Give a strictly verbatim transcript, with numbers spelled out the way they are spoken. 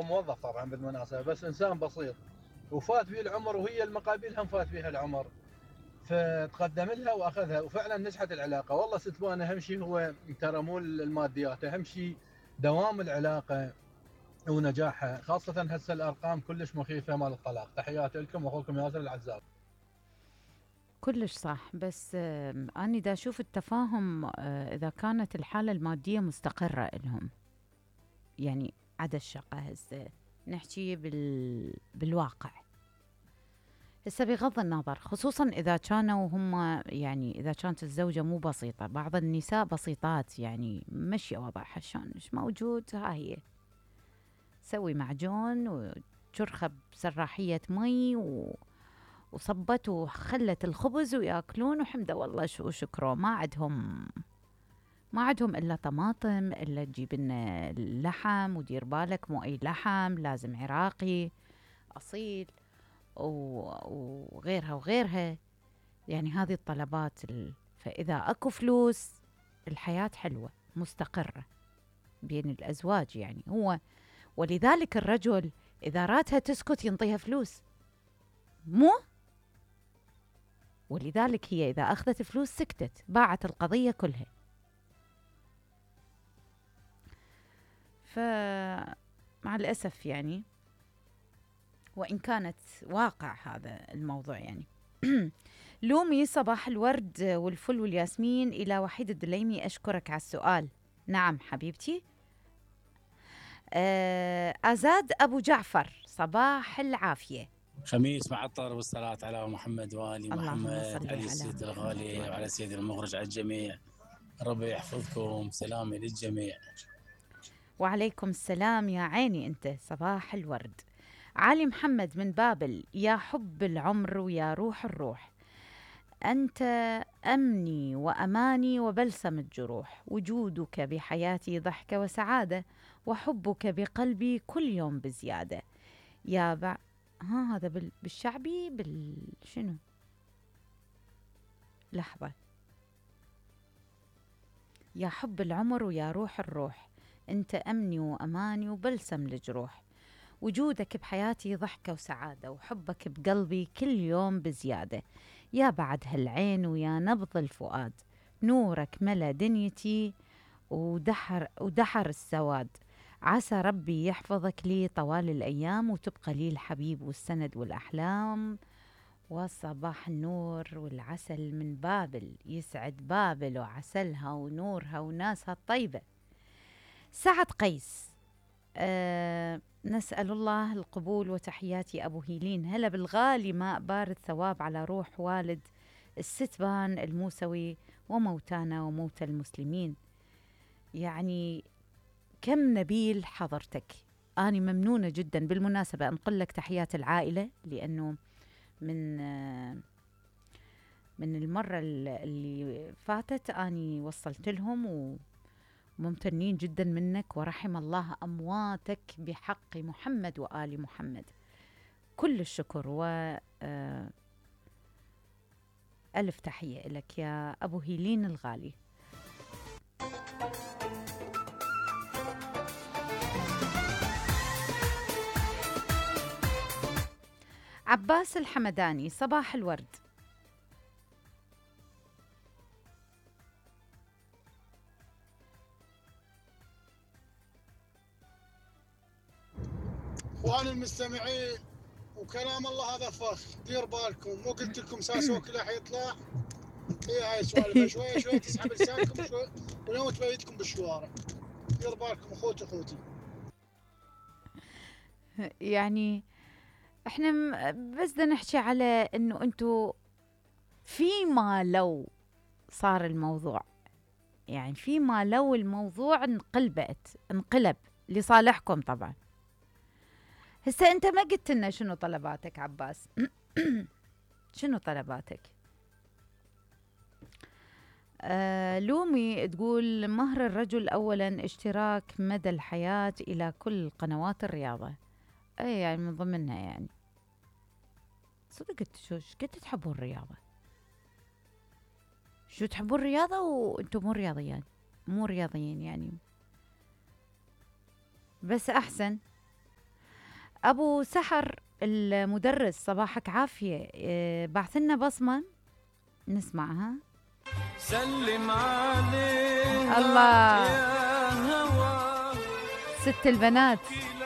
موظف طبعا بالمناسبة، بس إنسان بسيط وفات فيه العمر، وهي المقابل هم فات فيها العمر، فتقدم لها واخذها وفعلا نجحت العلاقه. والله ست لوانا اهم شيء هو ترى مو الماديات، اهم شيء دوام العلاقه ونجاحها، خاصه هسه الارقام كلش مخيفه مال الطلاق. تحياتي لكم واخوكم ياسر العزاب. كلش صح، بس آه أنا دا أشوف التفاهم آه إذا كانت الحالة المادية مستقرة إلهم، يعني عدا الشقة هسه نحكي بال... بالواقع. هسه بغض النظر، خصوصا إذا كانوا هم، يعني إذا كانت الزوجة مو بسيطة، بعض النساء بسيطات يعني مشي وضعها شلون مش موجود، ها هي سوي معجون وشرخة بسراحية مي و... وصبت وخلت الخبز وياكلون وحمد والله شو شكره. ما عندهم ما عندهم إلا طماطم، إلا تجيب لنا اللحم، ودير بالك مو أي لحم، لازم عراقي أصيل وغيرها وغيرها. يعني هذه الطلبات ال... فإذا أكو فلوس الحياة حلوة مستقرة بين الأزواج، يعني هو ولذلك الرجل إذا راتها تسكت ينطيها فلوس، مو ولذلك هي إذا أخذت فلوس سكتت، باعت القضية كلها. فمع الأسف يعني، وإن كانت واقع هذا الموضوع يعني. لومي صباح الورد والفل والياسمين إلى وحيد الدليمي، أشكرك على السؤال. نعم حبيبتي. آه أزاد أبو جعفر، صباح العافية. خميس معطر والصلاة على محمد وآل محمد، علي السيد الغالي وعلى سيد المخرج، على الجميع. ربي يحفظكم، سلامي للجميع. وعليكم السلام يا عيني أنت، صباح الورد. علي محمد من بابل، يا حب العمر ويا روح الروح، أنت أمني وأماني وبلسم الجروح، وجودك بحياتي ضحكة وسعادة، وحبك بقلبي كل يوم بزيادة. يا بع... ها هذا بال... بالشعبي بال شنو؟ لحظة. يا حب العمر ويا روح الروح، أنت أمني وأماني وبلسم الجروح، وجودك بحياتي ضحكة وسعادة، وحبك بقلبي كل يوم بزيادة. يا بعد هالعين ويا نبض الفؤاد، نورك ملا دنيتي ودحر, ودحر السواد. عسى ربي يحفظك لي طوال الأيام، وتبقى لي الحبيب والسند والأحلام. وصباح النور والعسل من بابل، يسعد بابل وعسلها ونورها وناسها الطيبة. سعد قيس، أه نسأل الله القبول، وتحياتي أبو هيلين. هلا بالغالي ماء بارد ثواب على روح والد الستبان الموسوي وموتانا وموتى المسلمين. يعني كم نبيل حضرتك، أنا ممنونة جدا. بالمناسبة أنقل لك تحيات العائلة، لأنه من آه من المرة اللي فاتت أني وصلت لهم و ممتنين جدا منك، ورحم الله أمواتك بحق محمد وآل محمد. كل الشكر و ألف تحية لك يا أبو هيلين الغالي. عباس الحمداني، صباح الورد. اخواني المستمعين، وكلام الله هذا فخ، دير بالكم. مو قلت لكم ساسوك راح يطلع؟ اي هاي السوالف شويه شويه تسحب لسانكم شوي ولو تبيتكم بالشوارع. دير بالكم اخوتي اخوتي. يعني احنا بس بدنا نحكي على انه انتو فيما لو صار الموضوع، يعني فيما لو الموضوع انقلبت انقلب لصالحكم طبعا. هسه انت ما قلت لنا شنو طلباتك عباس. شنو طلباتك؟ آه لومي تقول مهر الرجل اولا اشتراك مدى الحياة الى كل قنوات الرياضة. اي يعني من ضمنها، يعني صدقت شو قد تحبون الرياضة؟ شو تحبون الرياضة وانتم مو رياضيين؟ مو رياضيين يعني، بس احسن. ابو سحر المدرس صباحك عافيه، إيه بعث لنا بصمه نسمعها. سلم عليها الله يا هوا ست البنات.